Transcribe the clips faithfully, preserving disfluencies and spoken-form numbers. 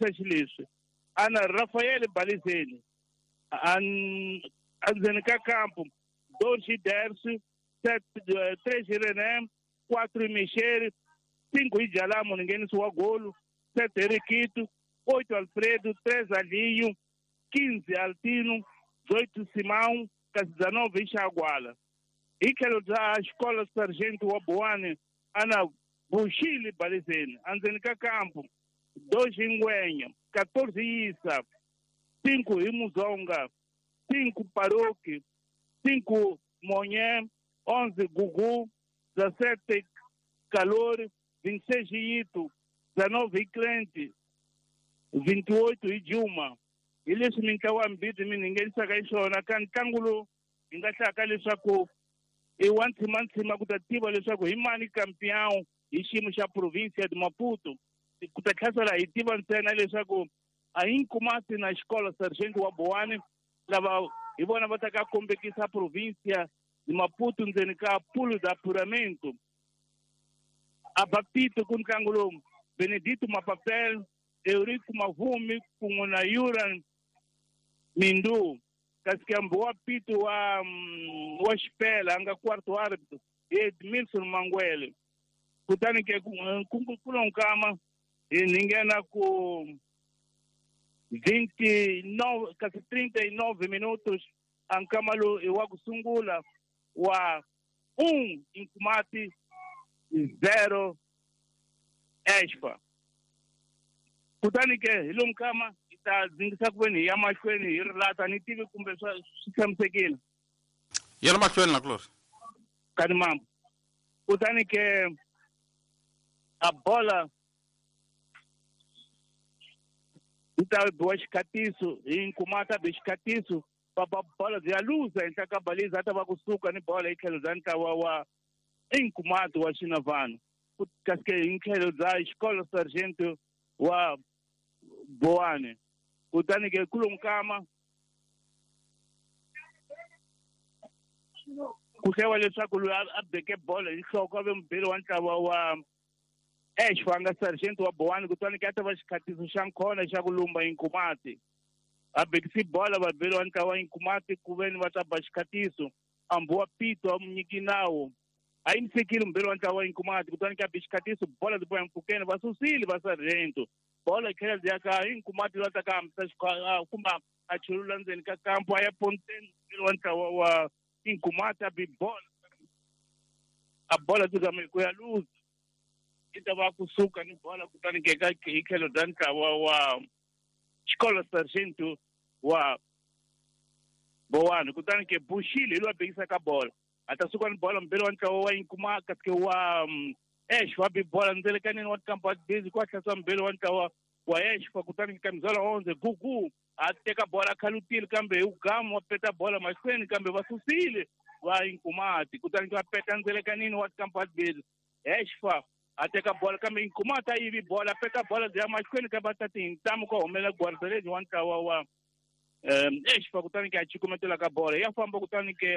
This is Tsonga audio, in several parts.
Xileswi ana Rafael Balizeni endzeni ka kampo dois Dersi, sete, três René, quatro Mexere, cinco Ijalamu ningenisi wa golo, sete Riquito, oito Alfredo, três Alinho, quinze Altino, dezoito Simão, dezenove Ixaguala. Hi tlhelo bya xikolo Sargento wa Boane ana Bushili Balizeni endzeni ka kampo dois Ngwenya, quatorze Isa, cinco Imuzonga, cinco Paroque, cinco Monhé, onze Gugu, dezessete Calor, vinte e seis Ito, dezenove Crente, vinte e oito Idilma. Hi leswi mintlawa mbirhi mi ni nghenisaka hi swona ka ntlangu lowu hi nga hlaka leswaku i wa ntshimantsima ku ta tiva leswaku hi mani campeão hi xiyimo xa província de Maputo. Ku ta tlhasela hi tiva ntsena leswaku a hi Nkumati na xikolo Sargento wa Boane lava hi vona va ta ka kombekisa província de Maputo ndzeni ka pulo da apuramento. A bapito ku ntlangu lowu Benedito Mapapel, Eurico Mavumi kun'we na Yuran Mindu. Kasi kambe wa pito wa wa xipela a nga quarto árbitro Edmilson Mangwele. Kutani ke ku lonkama hi nghena ku vinte e nove kasi trinta e nove minutos a nkama lowu i wa ku sungula wa um Nkumati zero Exfa. Kutani ke hi lomu kama hi ta dzingisa ku veni hi ya mahlweni hi rilata ni tivi kumbe swa swi tshamisekile. Yela mahlweni na kulori. Kani mambo. Kutani ke a bola yi ta biwa xikhatiso hi Nkumati bi xikhatiso va ba bola bya luza henhla ka baliza a ta va kusuka ni bola hi tlhelo bya ntlawa wa Nkumati wa Xinavana. Kasi ke hi tlhelo bya xikolo Sargento wa Boane. Kutani ke kulonkama ku hlewa leswaku loyi a beke bolo hi nhloko a ve mubeli wa ntlawa wa Exfa a nga Sargento wa Boane. Kutani ke a ta va xikhatiso xa nkhona xa ku lumba Nkumati. A bekisi bola vabeli wa ntlawa wa Nkumati ku veni va ta ba xikhatiso ambu wa pito a munyiki nawu a yimisekile mubeli wa ntlawa wa Nkumati. Kutani ke a bi xikhatiso bola byi boya mpfhukeni va susile va Sargento. Bola yi tlhela byi ya ka hi Nkumati loyi a ta ka hambisa kumbe a chulula ndzeni ka kampo a ya ponteni mubeli wa ntlawa wa Nkumati a bi bola a bola byi gama ku ya luza yi ta va kusuka ni bola. Kutani ke ka hi tlhelo bya ntlawa wa xikolo Sargento wa Boane. Kutani ke Bushile hi loyi a bekisaka bola a ta suka ni bola mubeli wa ntlawa wa Nkumati kasi ke wa Exfa bi bola ndzelekaneni wa kampo wa busy ku hlasela mubeli wa ntlawa wa Exfa. Kutani ka mizala onze Gugu a teka bola a khalutile kambe hi ugamu wa peta bola mahlweni kambe va susile va Nkumati. Kutani va peta ndzelekanini wa kampo wa busy Exfa a teka bola kambe Nkumati a yivi bola peta bola bya mahlweni kambe a ta tintamu ku humelela guardaredi wa ntlawa wa Exfa. Kutani ke a chikumetela ka bola ya famba. Kutani ke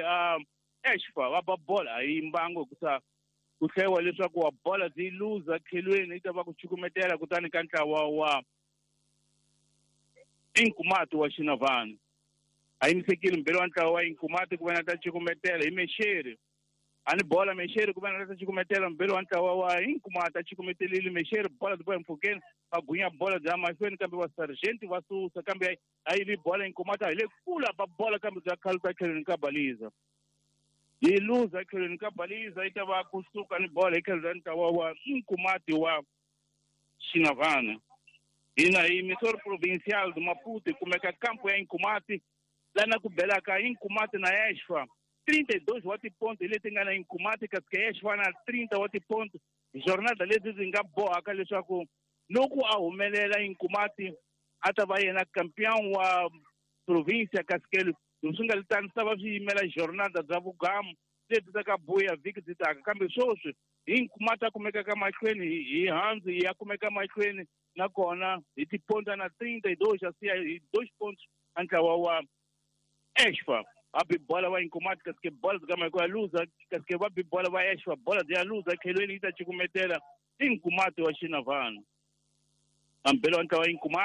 Exfa va ba bola a yi mbango hikusa ku hlewa leswaku wa bola byi luza tlhelweni yi ta va ku chukumetela kutani ka ntlawa wa Nkumati wa Xinavana. A yimisekile mubeli wa ntlawa wa Nkumati ku vena ta chukumetela hi Mexeri. A ni bola Mexeri ku vena ta chukumetela mubeli wa ntlawa wa Nkumati a chukumetelile Mexeri bola byi boya mpfhukeni va gunya bola bya mahlweni kambe va Sargento va susa kambe a yivi bola Nkumati a hi le kula ba bola kambe bya khaluta tlhelweni ka baliza. Yi luza tlhelweni ka baliza yi ta va kusuka ni bola hi tlhelo ra ntlawa wa Nkumati wa Xinavana. Hina hi emissora provincial de Maputo hi kumeka kampo ya Nkumati lana ku belaka Nkumati na Exfa trinta e dois wa tiponto hi leti nga na Nkumati kasi ke Exfa na trinta wa tiponto. Jornada leti ndzi nga bohaka leswaku loko a humelela Nkumati a ta va yena campeão wa província kasi ke swi nga tani swi ta va swi yimela jornada bya vugamu leti ta ka buya vhiki byi taka. Kambe sweswi hi Nkumati a kumekaka mahlweni hi handzu ya kumeka mahlweni nakona hi tiponto na trinta e dois a siya hi dois pontos a ntlawa wa Exfa. A bi bola wa Nkumati kasi ke bola byi gama hi ku ya luza kasi ke va bi bola va Exfa bola byi ya luza tlhelweni yi ta cukumetela i Nkumati wa Xinavana. A mbeli wa ntlawa Nkumati.